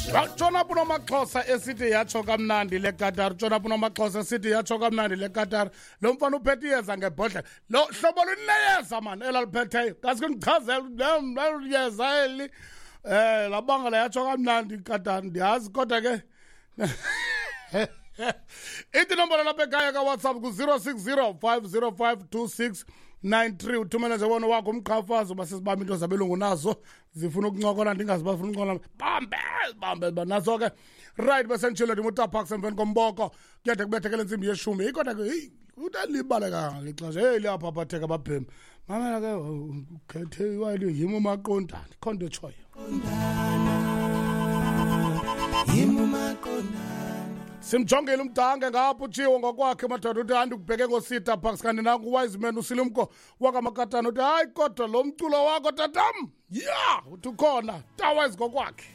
Tshona pho uNomaxhosa esithi yatsho kamnandi le Qatar, tshona pho uNomaxhosa esithi yatsho kamnandi le Qatar. Lo mfana uphethe iyeza ngebhodlela, lo hlobo luneyeza mani elaliphetheyo. Ngaske ndichazele yeza eli, labangela yatsho kamnandi iQatar, ndiyazi kodwa ke ithi inombolo lapha ekhaya kaWhatsApp ku-060 505 2693. Uthumele nje wona wakho umqhafazo uba sisibambe into zabelungu nazo zifuna ukuncokola, ndingazi bafuna ukuncokola, bambe bambe nazo ke. Right, besenditshilo ndim utaparks emveni komboko kuyade kubethekele intsimbi yeshumi. Heyi, kodwa ke heyi, utalibale kangaka ixesha. Heyi, liyaphaphatheka babhemi. Mamela ke, ukhethe iwayini yim umaqondana, ikho nto etshoyo. Simjongile umdange ngapha utshiwo ngokwakhe madoda, uthi andikubheke ngosita Parks, kanti nanku Wiseman uSilumko wakaMakatana uthi hayi kodwa lo mculo wakho tatam, ya uthi ukhona tawise ngokwakhe.